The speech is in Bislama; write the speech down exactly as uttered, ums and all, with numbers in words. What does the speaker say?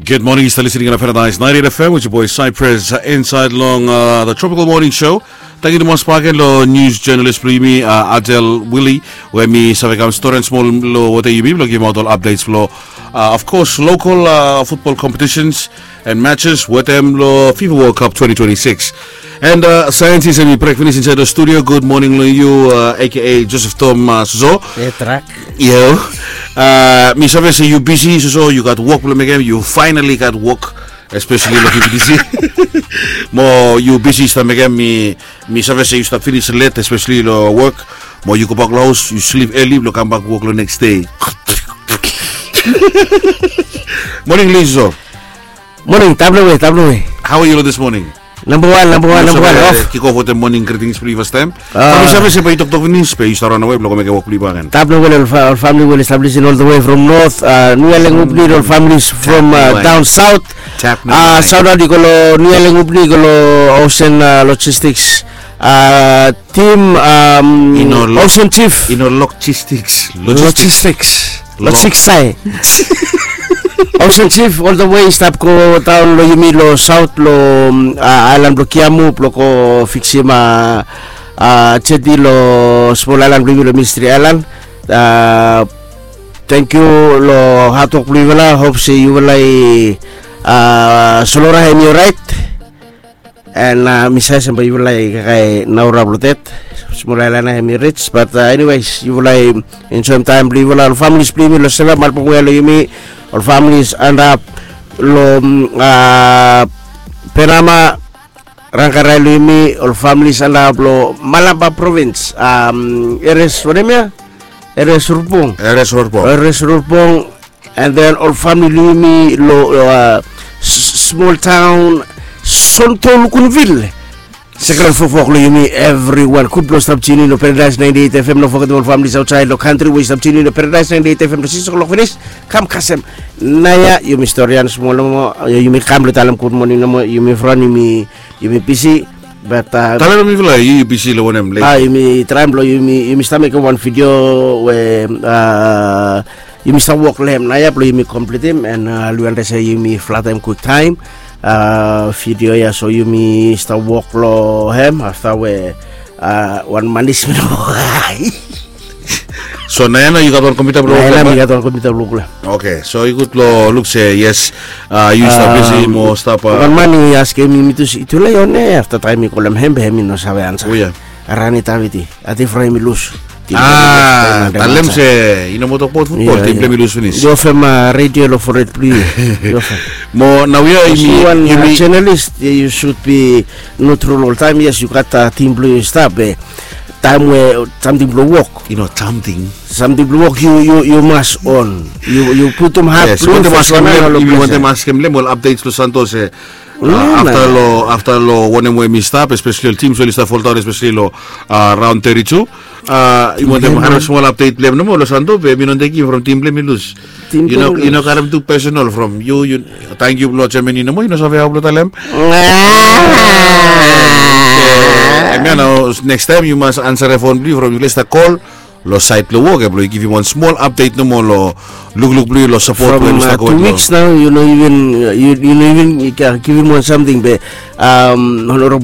Good morning, you still listening on Paradise ninety-eight F M with your boy Cypress, uh, inside long, uh, the Tropical Morning Show. Tangkiu tumas bakegen lo news journalist blong yumi, uh, Adel Willie, we mi save kam stori smol lo wetem yumi blong givimaot ol updates lo, uh, of course, local, uh, football competitions and matches wetem lo FIFA World Cup twenty twenty-six. And, uh, saentis hemi brek finis insaed lo studio. Good morning lo yu, uh, A K A Joseph Tom, uh, Soso. Yo, uh, mi save se yu bisi, Soso, yu gat wok blong mekem, yu finally gat wok, especially lo P P T C. Mo yu bisi stap mekem, mi, mi save se yu stap finis let, especially lo wok. Mo yu gobak lo haos, yu slip early blong kambak wok lo next day. Morning, Soso. Morning, taem blong we, taem blong we. How are you this morning? Namba wan, namba wan, namba wan. Kick off wetem morning greetings blong yu fastaem. From yu save se bae yu toktok finis, bae yu stap raonawe blong go mekem wok blong yu bakegen. Taem blong we lo ol famili we oli stap lisin all the way from north, uh, Niu Alen Upni, ol families from, uh, down south. Uh, shout out i go lo Niu Alen Upni, i go lo Ocean, uh, Logistics. Uh, team, um, Ocean Chief. Ino logistics. Logistics. Logistics. Ocean Chief, all the way i stap go daon lo yumi lo saot lo, um, uh, aelan blo Kiamu blo go fiksim, uh, uh, jeti lo smol aelan blo yumi lo Ministry Aelan. Uh, tangkiu lo hadwok blo yufala. Hop se yufala i, uh, Sonora hemi oraet. And, uh, mi save se bae yufala i kakae naora blo det. Smol aelan ya hemi rij, but, uh, anyways, yufala i enjoem taem blo yufala, ol families blo yumi lo Sela, Malbong, we lo yumi, ol families antap lo, mm, uh, Penama, Rangkarai lo yumi, ol families antap lo Malaba Province, um, Eres, wanem ya? Eres Rurpong. Eres Rurpong. Eres Rurpong, and then ol famili blo yumi lo, uh, smol taon Sonto Lukunvil. Sekran fofok lo yumi, everyone. Gud blo stap tune in lo Paradise ninety-eight F M. No fogetem ol families aotsaed lo kantri we i stap tune in lo Paradise ninety-eight F M lo sikis o'clock finis. Kam kasem naoia, yumi storian smol nomo, yumi kam blo talem gud moning nomo, yumi fron, yumi yumi bisi. But, uh, talem lo mifala, yu, yu bisi lo wanem lately? Ah, yumi traem blo yumi, yumi stap mekem wan video we, uh, yumi stap wok lo hem naoia blo yumi kompletem, and, uh, luanda se yumi flatem kwiktaem. Uh, video ya, so yumi stap wok lo hem afta we, uh, wan manis mi no. So naoia nao yu gat wan kompiuta blo, naoia nao mi gat wan kompiuta blo. Oke, so i gud lo luk se yes, uh, yu stap bisi mo stap, uh, wan man i askem mi tu se, "Itu lai on air?" Afta taem mi kolem hem be hem i no save ansa. Ran i taviti. Ati frai mi lus. Ah, talem se i no moa tokbaot futbol, tim blong hem i lus finis. Yu ofem, uh, redio lo fored blo yu. Yu ofem. Mo naoia yumi, wan, uh, yumi journalist, you should be neutral oltaem. Yes, yu gat, uh, tim blo yu stap, be taem we samting blo wok. Yu no samting. Samting blo wok, yu, yu, yu mas on. Yu, yu putum hat blo yu. Yes, yu wantem askem lem, yu wantem askem lem ol updates lo Santos, eh, afta lo, afta lo wanem we hemi stap, especially ol teams we oli stap foldaon, especially lo, uh, round thirty-two. Uh, yu wantem harem smol update blo hem nomo lo Santo, be hemi no tekem from tim blo hem i lus. Yu no, yu no karem tu personal from yu, yu, tangkiu blo Germany nomo, yu no save hao blo talem. Hemia nao, next time yu mas ansarem fon blo yu from yu les stap kol lo saed blo wok, eh, blo yu givim wan smol update nomo lo lukluk blo yu lo sapot we yu stap go. From, uh, two weeks now, yu no even, uh, yu, yu no even, uh, givim wan samting be, um, Honorable